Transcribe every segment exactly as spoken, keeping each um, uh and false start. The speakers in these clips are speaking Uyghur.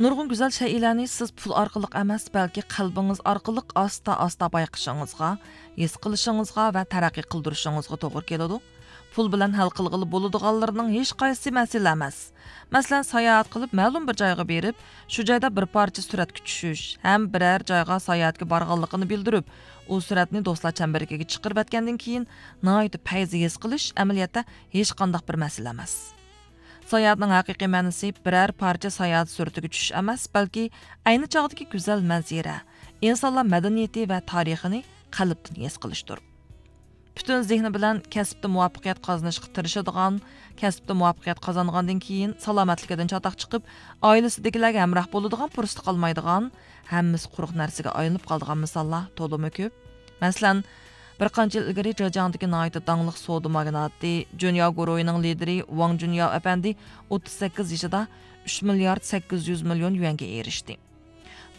نۇرغۇن گۈزەل شەيئىلەرنى سىز پۇل ئارقىلىق ئەمەس، بەلكى قەلبىڭىز ئارقىلىق ئاستا-ئاستا بايقىشىڭىزغا، ھېس قىلىشىڭىزغا ۋە تەرەققىي قىلدۇرۇشىڭىزغا توغرا كېلىدۇ. پۇل بىلەن ھەل قىلغىلى بولىدىغانلىرىنىڭ ھېچقايسىسى مەسىلە ئەمەس. مەسىلەن، ساياھەت قىلىپ مەلۇم بىر جايغا بېرىپ، شۇ جايدا بىر پارچە سۈرەتكە چۈشۈش ھەم بىرەر جايغا ساياھەتكە بارغانلىقىنى بىلدۈرۈپ، ئۇ سۈرەتنى دوستلار چەمبىرىكىگە چىقىرىۋەتكەندىن كېيىن، ناھايىتى پەيزى ھېس قىلىش ئەمەلىيەتتە ھېچقانداق بىر مەسىلە ئەمەس. ساياھەتنىڭ ھەقىقىي مەنىسى بىرەر پارچە ساياھەت سۈرىتىگە چۈشۈش ئەمەس، بەلكى ئەينى چاغدىكى گۈزەل مەنزىرە، ئىنسانلار مەدەنىيىتى ۋە تارىخىنى قەلبتىن ھېس قىلىشتۇر. پۈتۈن زېھنى بىلەن كەسىپتە مۇۋەپپەقىيەت قازىنىشقا تىرىشىدىغان، كەسىپتە مۇۋەپپەقىيەت قازانغاندىن كېيىن سالامەتلىكىدىن چاتاق چىقىپ، ئائىلىسىدىكىلەرگە ھەمراھ بولىدىغان پۇرسىتى قالمايدىغان، ھەممىسى قۇرۇق نەرسىگە ئايلىنىپ قالىدىغان مىساللار تولىمۇ كۆپ. مەسىلەن، بىر قانچە يىل ئىلگىرى جېجياڭدىكى ناھايىتى داڭلىق سودا ماگناتى جۈنياۋ گۇرۇھىنىڭ لىدىرى ۋاڭ جۈنياۋ ئەپەندى ئوتتۇز سەككىز يېشىدا ئۈچ مىليارد سەككىز يۈز مىليون يۈەنگە ئېرىشتى.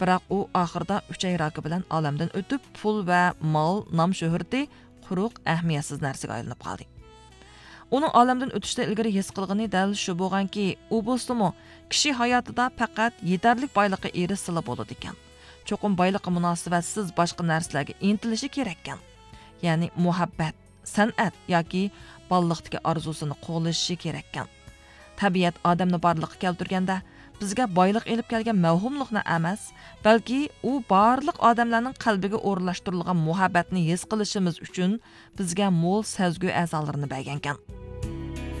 بىراق ئۇ ئاخىرىدا ئۈچەي راكى بىلەن ئالەمدىن ئۆتۈپ، پۇل ۋە مال، نام-شۆھرىتى قۇرۇق، ئەھمىيەتسىز نەرسىگە ئايلىنىپ قالدى. ئۇنىڭ ئالەمدىن ئۆتۈشتىن ئىلگىرى ھېس قىلغىنى دەل شۇ بولغانكى، ئۇ بولسىمۇ، كىشى ھاياتىدا پەقەت يېتەرلىك بايلىققا ئېرىشسىلا بولىدىكەن. چوقۇم بايلىققا مۇناسىۋەتسىز باشقا نەرسىلەرگە ئىنتىلىشى كېرەككەن. يەنى مۇھەببەت، سەنئەت ياكى بالىلىقتىكى ئارزۇسىنى قوغلىشى كېرەككەن. تەبىئەت ئادەمنى بارلىققا كەلتۈرگەندە، بىزگە بايلىق ئېلىپ كەلگەن مەۋھۇملۇقنى ئەمەس، بەلكى ئۇ بارلىق ئادەملەرنىڭ قەلبىگە ئورۇنلاشتۇرۇلغان مۇھەببەتنى ھېس قىلىشىمىز ئۈچۈن بىزگە مول سەزگۈ ئەزالىرىنى بەرگەنكەن.